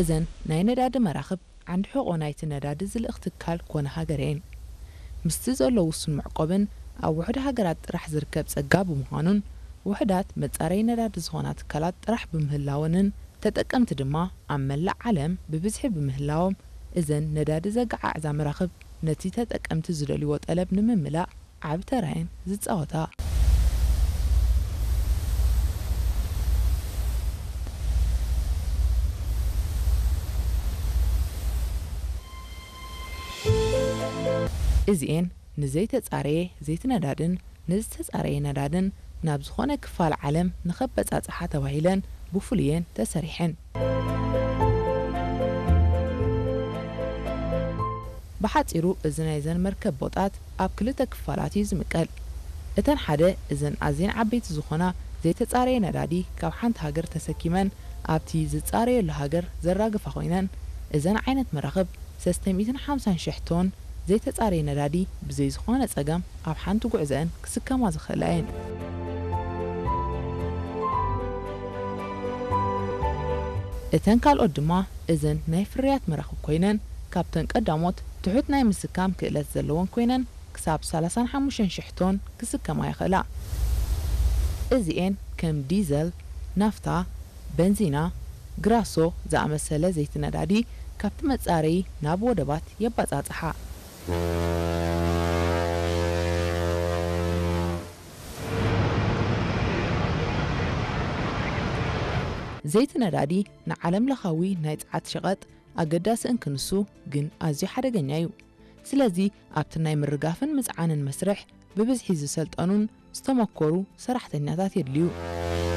እዘን ናይ ነዳዲ መራኽብ ዓንዲ ሕቖ ናይቲ ነዳዲ ዝልእኽ ትካል ኮነ ሃገር እየን። ምስቲ ዘሎ ውሱን መዕቆብን ኣብ ውሑድ ሃገራት ጥራሕ ዝርከብ ጸጋ ብምዃኑን፣ ውሑዳት መጻረዪ ነዳዲ ዝኾና ትካላት ጥራሕ ብምህላወንን፣ ተጠቀምቲ ድማ ኣብ መላእ ዓለም ብብዝሒ ብምህላዎም፣ እዘን ነዳዲ ዘገዓዕዛ መራኽብ ነቲ ተጠቀምቲ ዝደልይዎ ጠለብ ንምምላእ ዓቢ ተራየን ዝጻወታ። እዚኤን ንዘይተጻረየ ዘይቲ ነዳድን ንዝተጻረየ ነዳድን ናብ ዝኾነ ክፋል ዓለም ንኸበጻጽሓ ተባሂለን ብፍሉየን ተሰሪሐን። ብሓጺሩ፣ እዚ ናይዘን መርከብ ቦጣት ኣብ ክልተ ክፋላት እዩ ዝምቀል። እተን ሓደ፣ እዘን ኣዝየን ዓበይቲ ዝኾና ዘይተጻረየ ነዳዲ ካብ ሓንቲ ሃገር ተሰኪመን ኣብቲ ዝጻረየሉ ሃገር ዘራግፋ ኮይነን፣ እዘን ዓይነት መራኽብ ሰለስተ ሚእትን ሓምሳን ሽሕ ቶን ዘይተጻረየ ነዳዲ ብዘይ ዝኾነ ጸገም ኣብ ሓንቲ ጉዕዘአን ክስከማ ዝኽእላ እየን። እተን ካልኦት ድማ እዘን ናይ ፍርያት መራኽብ ኮይነን፣ ካብተን ቀዳሞት ትሑት ናይ ምስካም ክእለት ዘለወን ኮይነን፣ ክሳብ ሰላሳን ሓሙሽተን ሽሕ ቶን ክስከማ ይኽእላ። እዚኤን ከም ዲዘል፣ ናፍታ፣ በንዚና፣ ግራሶ ዝኣመሰለ ዘይቲ ነዳዲ ካብቲ መጻረዪ ናብ ወደባት የባጻጽሓ። ዘይቲ ነዳዲ ንዓለም ለኻዊ ናይ ጸዓት ሸቐጥ ኣገዳሲ እንክንሱ ግን ኣዝዩ ሓደገኛ እዩ። ስለዚ ኣብቲ ናይ ምርጋፍን ምጽዓንን መስርሕ ብብዝሒ ዝሰልጠኑን ዝተመኮሩ ሰራሕተኛታት የድልዩ።